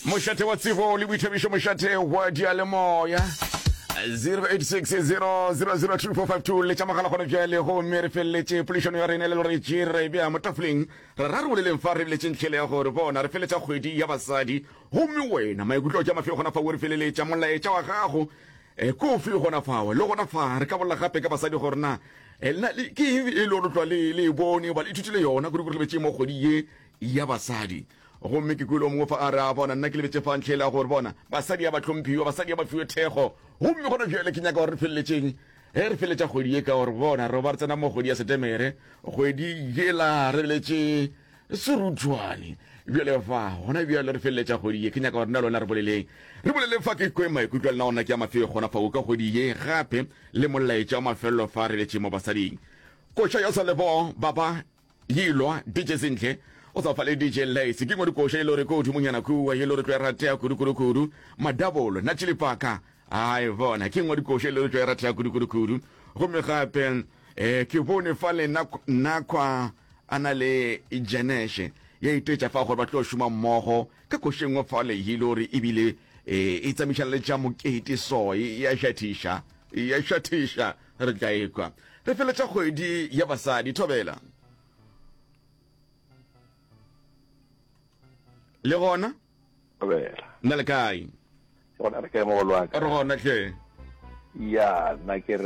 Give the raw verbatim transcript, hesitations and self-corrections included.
Mošate wa tsebo le boithabišo, mošate wa dialemoya. zero eight six zero zero zero two four five two letša mogala gona bjale, gomme re feleletše poledišano ya rena le lore tše re bea mo tafoleng. Re ra re boleleng fa, re beletše ntlhele ya gore bona re feletša kgwedi ya basadi, gomme wena maikutlo ke a mafe gona fa o re feleletša molaetša wa gago e kofi gona fao. Le gona fa re ka bolela gape ka basadi gore na lena ke eng e le gore tlwa le le e bone goba le ithutile yona kudu kudu lebetše mo kgwedi ye ya basadi. Gomme ke kwele o mongwe fa a re, a bona nna ke lebetše fa ntlhele ya gore bona basadi ya ba hlomphiwa, basadi ya ba fiwe thekgo. Gomme gona bjale ke nyaka gore re feleletšeng ge re feleletša kgwedi ye, ka gore bona re ba re tsena mo kgwedi ya Setemere, kgwedi yela re beletše seruthwane. Bjale fa gona bjale re feleletša kgwedi ye, ke nyaka gore nna le wena re boleleng, re boleleng fa, ke kwe maikutlo a lena gona ke a mafe gona fa ka kgwedi ye, gape le molaetša wa mafelelo fa re letše mo basading. Koša ya Salebo baba yilwa D J Sentle o sa fa le D J Lace ke ngwe dikoša e le gore ko godimonyana kua e le gore tlo e ratea kudu kudu kudu. Madabolo na tšilipaka ai bona ke ngwe dikoša e le gore tlo e ratea kudu kudu kudu. Gomme gape eh ke bone fa le nakwa a na le Janeshe ya itetša fa gore ba tlo šoma mmogo ka koša e nngwe fa le e le gore ebile e tsamišana le tša mokete, so ya šathiša ya šathiša re tla ekwa re feletša kgwedi ya basadi. Thobela le gona. Thobela nna le kae? Gona re kae mogolo wa ka? Re gona hle. Ya nna ke re